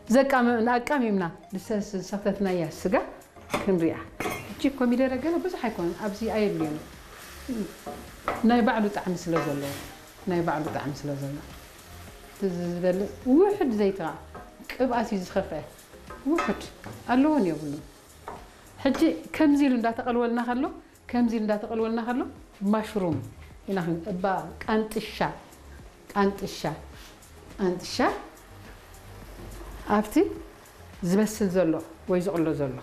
ዘቃመ ኣቃሚምና ዝሰ- ዝሰኽተትናያ ስጋ ክንሪኣ። እቺ ኮሚደረ ገለ ብዙሕ ኣይኮነን፣ ኣብዚ ኣየድልዮን። ናይ ባዕሉ ጣዕሚ ስለ ዘለዎ፣ ናይ ባዕሉ ጣዕሚ ስለ ዘለዎ። እቲ ዝበልዕ ውሑድ ዘይትኻ ቅብኣት እዩ ዝኸፍአ። ውሑድ ኣለዎን የብሉን። ሕጂ ከምዚ ኢሉ እንዳተቐልወልና ከሎ፣ ከምዚ ኢሉ እንዳተቐልወልና ከሎ ማሽሩም ኢና ክን- እባ ቃንጥሻ፣ ቃንጥሻ፣ ቃንጥሻ ኣብቲ ዝበስል ዘሎ ወይ ዝቕሎ ዘሎ